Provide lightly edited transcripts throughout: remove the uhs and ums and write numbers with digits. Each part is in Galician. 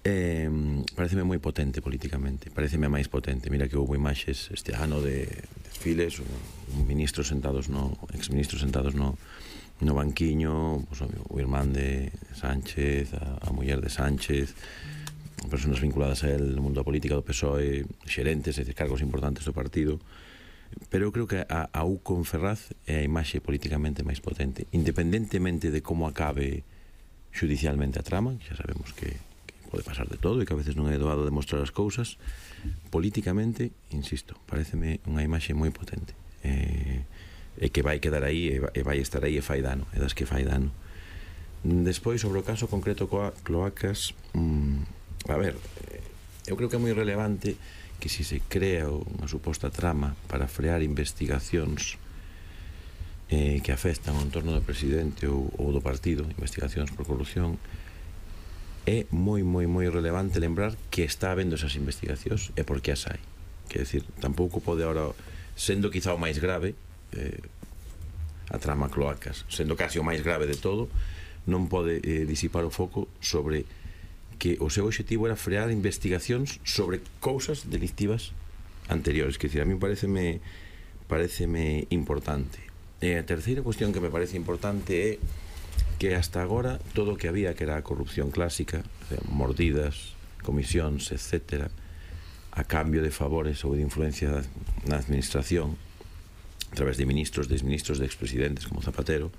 Pareceme moi potente políticamente, pareceme máis potente. Mira que houve imaxes este ano de desfiles, exministros sentados no banquiño, pues, o irmán de Sánchez, a muller de Sánchez, personas vinculadas a él no mundo da política do PSOE, xerentes, cargos importantes do partido. Pero eu creo que a U con Ferraz é a imaxe políticamente máis potente, independentemente de como acabe judicialmente a trama, que xa sabemos que pode pasar de todo e que a veces non é doado demostrar as cousas. Políticamente, insisto, pareceme unha imaxe moi potente, e que vai quedar aí e vai estar aí e fai dano, e das que fai dano. Despois, sobre o caso concreto Cloacas, a ver, eu creo que é moi relevante que se crea unha suposta trama para frear investigacións que afectan ao entorno do presidente ou do partido, investigacións por corrupción, é moi relevante lembrar que está habendo esas investigacións e por que as hai. Quer decir, tampouco pode ahora, sendo quizá o máis grave, a trama Cloacas, sendo casi o máis grave de todo, non pode disipar o foco sobre que o seu objetivo era frear investigacións sobre cousas delictivas anteriores. Quer decir, a mí pareceme importante. E a terceira cuestión que me parece importante é que hasta agora todo o que había, que era a corrupción clásica, mordidas, comisións, etcétera, a cambio de favores ou de influencia na administración a través de ministros, de exministros, de expresidentes como Zapatero,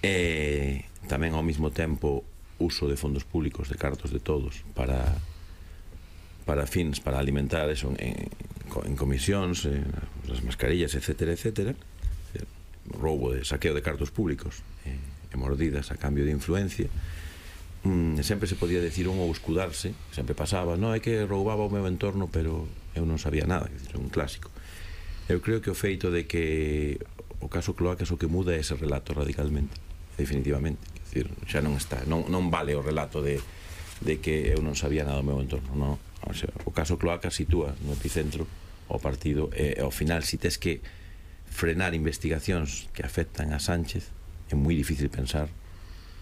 e tamén ao mesmo tempo uso de fondos públicos, de cartos de todos para fins, para alimentar eso en comisións, as mascarillas, etcétera, etcétera, roubo de saqueo de cartos públicos e mordidas a cambio de influencia. Sempre se podía decir un ou escudarse, sempre pasaba, non, é que roubaba o meu entorno, pero eu non sabía nada, é un clásico. Eu creo que o feito de que o caso Cloacas o que muda é ese relato radicalmente, definitivamente. Quer dizer, xa non está, non vale o relato de que eu non sabía nada do meu entorno, non. O sea, o caso Cloacas sitúa no epicentro o partido, e ao final, si tes que frenar investigacións que afectan a Sánchez, é moi difícil pensar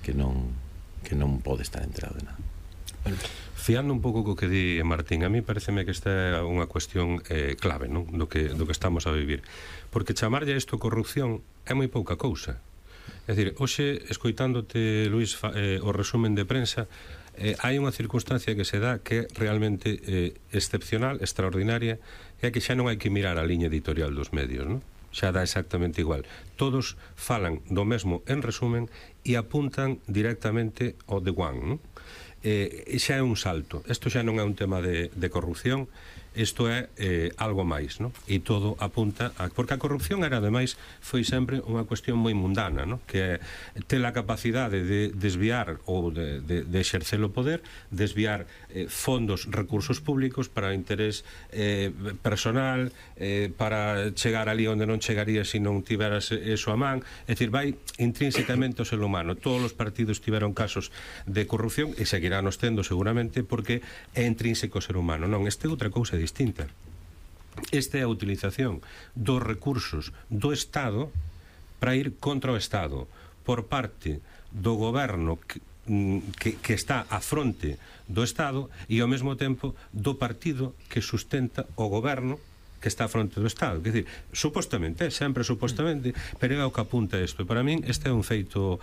que non pode estar enterado de nada. Fiando un pouco co que di Martín, a mí pareceme que esta é unha cuestión clave, non? do que estamos a vivir, porque chamarlle isto corrupción é moi pouca cousa. É dicir, hoxe, escoitándote, Luís, o resumen de prensa, hai unha circunstancia que se dá que é realmente excepcional, extraordinaria, e é que xa non hai que mirar a liña editorial dos medios, non? Xa dá exactamente igual. Todos falan do mesmo en resumen e apuntan directamente ao The One, non? Xa é un salto. Isto xa non é un tema de corrupción, isto é algo máis, non? E todo apunta porque a corrupción era, ademais, foi sempre unha cuestión moi mundana, non? Que é ter a capacidade de desviar ou de exercer o poder, desviar fondos, recursos públicos para interés personal, para chegar ali onde non chegaría se non tiveras eso a man. É dicir, vai intrínsecamente ao ser humano. Todos os partidos tiveron casos de corrupción e seguirános tendo seguramente porque é intrínseco ao ser humano. Non, este é outra cousa distinta. Esta é a utilización dos recursos do Estado para ir contra o Estado por parte do goberno que está á fronte do Estado e ao mesmo tempo do partido que sustenta o goberno que está á fronte do Estado. Quer dizer, supostamente, sempre supostamente, pero é o que apunta isto. E para min este é un feito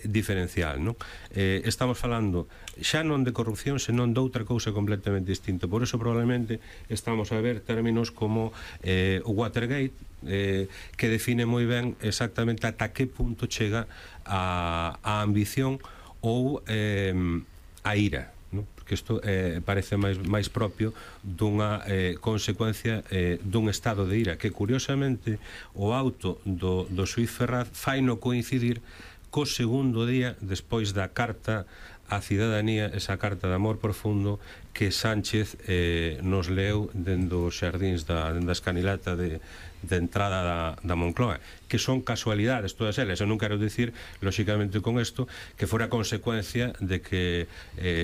diferencial, non? Estamos falando xa non de corrupción, senón de outra cousa completamente distinta. Por eso probablemente estamos a ver términos como o Watergate, que define moi ben exactamente ata que punto chega a ambición ou a ira, porque isto parece máis propio dunha consecuencia dun estado de ira que, curiosamente, o auto do xuíz Ferraz faino coincidir co segundo día despois da carta á cidadanía, esa carta de amor profundo que Sánchez nos leu dentro os xardíns da escanilata de entrada da Moncloa, que son casualidades todas elas. Eu non quero dicir, lóxicamente, con isto que fora consecuencia de que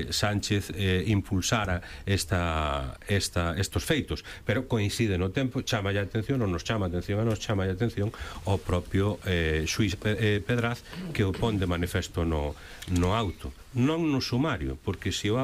Sánchez impulsara estos feitos, pero coincide no tempo, chama a atención, ou nos chama a atención a nos chama a atención o propio xuíz Pedraz, que o pon de manifesto no auto, non no sumario, porque se o auto